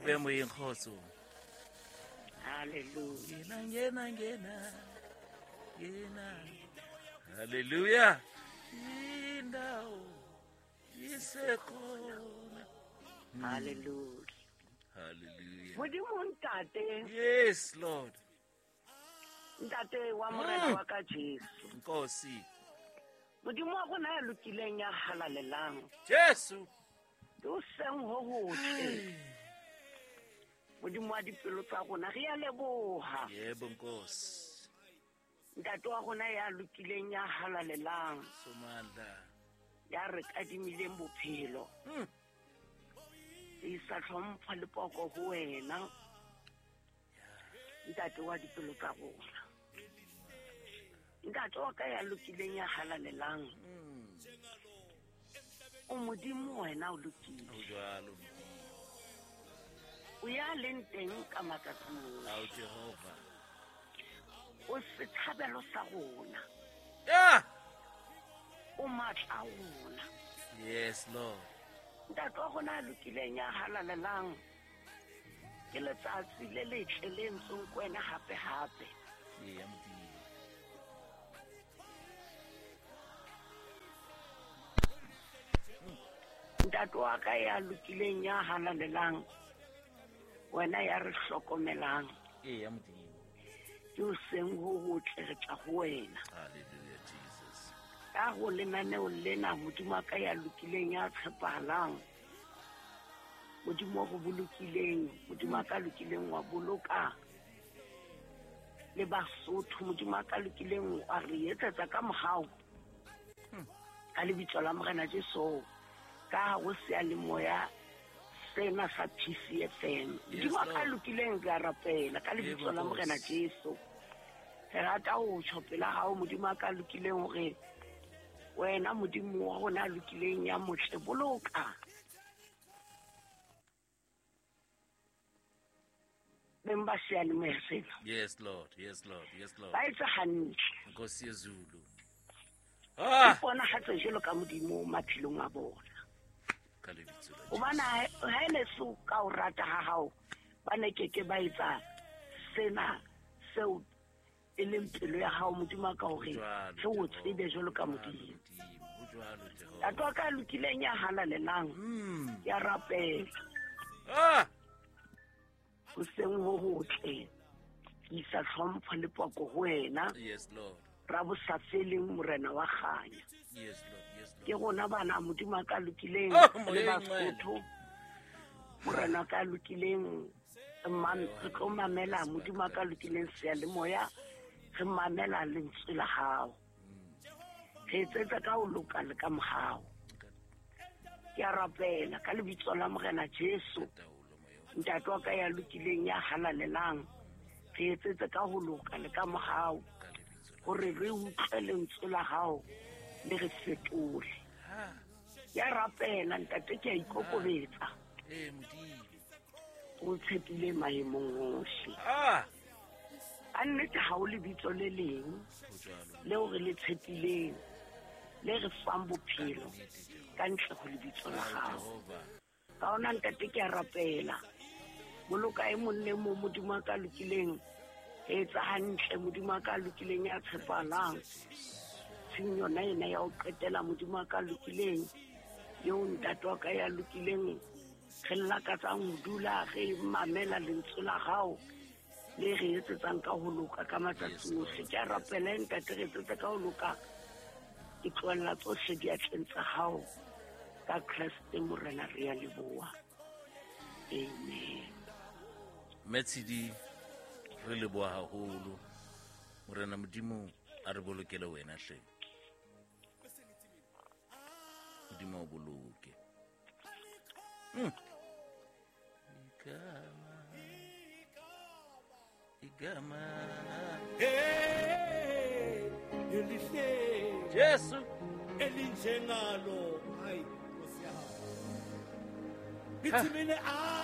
Kope moyeng kgotso. Hallelujah. Ngena ngena ngena. Ngena. Hallelujah. Indawo isekhona. Hallelujah. Hallelujah. Modimo ntate, Yes, Lord. Ntate wa morena wa ka Jesu. Nkosi. Modimo wa rona ya lokileng ya halalelang. Jesu. Ke o seng ho hotle. Modimo wa dipelo tsa rona re a leboha. Yebo Nkosi. Ntate wa rona ya lokileng ya halalelang. Somandla. Ya re kadimileng bophelo. Re isa tlhompho le poko ho wena. Ntate wa dipelo tsa rona. Ntate wa ka ya lokileng ya halalelang. O modimo wena o lokile. O jwalo. O ya leng teng ka matsatsi ohle. Ao Jehova. O setshabelo sa rona. Yeah. O matla a rona. Yes, Lord. Ntate wa rona a lokileng ya halalelang. Ke letsatsi le letle le ntsong ko wena hape hape. Ee, Modimo. Ntate wa ka ya lokileng ya halalelang, wena ya re hlokomelang. Ee, Modimo. Ke o seng ho hotle re tla ho wena. Hallelujah, Jesus. Ka ho lenaneo lena Modimo wa ka ya lokileng ya tshepahalang. Modimo wa go bolokileng, Modimo wa ka lokileng wa boloka le Basotho, Modimo wa ka lokileng wa re etsetsa ka mohau. Ka lebitso la Morena Jesu, ka ho seyalemoya sena sa PCFM. Yes, Modimo wa ka Lord. lokileng re a rapela ka lebitso la Yebo, Morena Nkosi. Jesu. Re rata ho tjho pela hao Modimo wa ka lokileng hore wena Modimo wa rona a lokileng ya motle boloka. Beng ba seyalemoya sena. Yes, Lord. Yes, Lord. Yes, Lord. Ba etse hantle. Nkosi yeZulu. E Ah! ponahatse jwalo ka Modimo maphelong a bona. Ka lebitso la Hobane Jesu. ha e ne se ka o rata ha hao, ba ne keke ba etsa sena seo e leng pelo ya hao Modimo a ka hore Jwalo, re o Jehova. tsebe jwalo ka Jwalo, Modimo. Modimo. Ho jwalo, Jehova. Ntate wa ka a lokileng ya halalelang, ke a rapela. Ah! Hoseng ho hotle, ke isa tlhompho le poko ho wena. Yes, Lord. Ra bosafeleng Morena wa kganya. Yes, Lord. Yes, Ke Lord. rona bana Modimo a ka lokileng Oh, le Moya e Basotho. Morena ka lokileng re tlo mamela Modimo a ka lokileng seyalemoya, re mamela lentswe la hao. Re etsetsa ka ho loka le ka mohau. Ke a rapela ka lebitso la Morena Jesu. Taolo, Moya o Ntate wa ka ya lokileng ya halalelang, re etsetse ka ho loka le ka mohau. ka lebitso la Hore re utlwe lentswe la hao le re fetole. Ha. Ke a rapela ntate, ke a ikokobetsa. Eh, Modimo. O tshepile maemong ohle. Ah! Ka nnete ha o lebitso le leng Ho jwalo. leo re le tshepileng, le re fang bophelo Nnete, Jehova. ka ntle ho lebitso la Ao, hao. Jehova. Ka hona ntate ke a rapela. Boloka e mong le mong Modimo a ka lokileng, etsa hantle Modimo a ka lokileng ya tshepahalang. Tsheng yona ena ya ho qetela Modimo a ka lokileng, eo ntate wa ka ya lokileng, re lakatsang ho dula re mamela lentswe la hao le re etsetsang ka ho loka ka matsatsi ohle. Ke a rapela ntate, re etsetse ka ho loka. Ke tlohella tsohle diatleng tsa hao. Ka Kreste Morena re a leboha. Amen. Metshidi, re leboha haholo. Morena Modimo a re bolokele wena hle. Modimo a o boloke. Igama. Igama. Hey, elihle Jesu. elinjengalo hayi Nkosi yami. Ngithi mina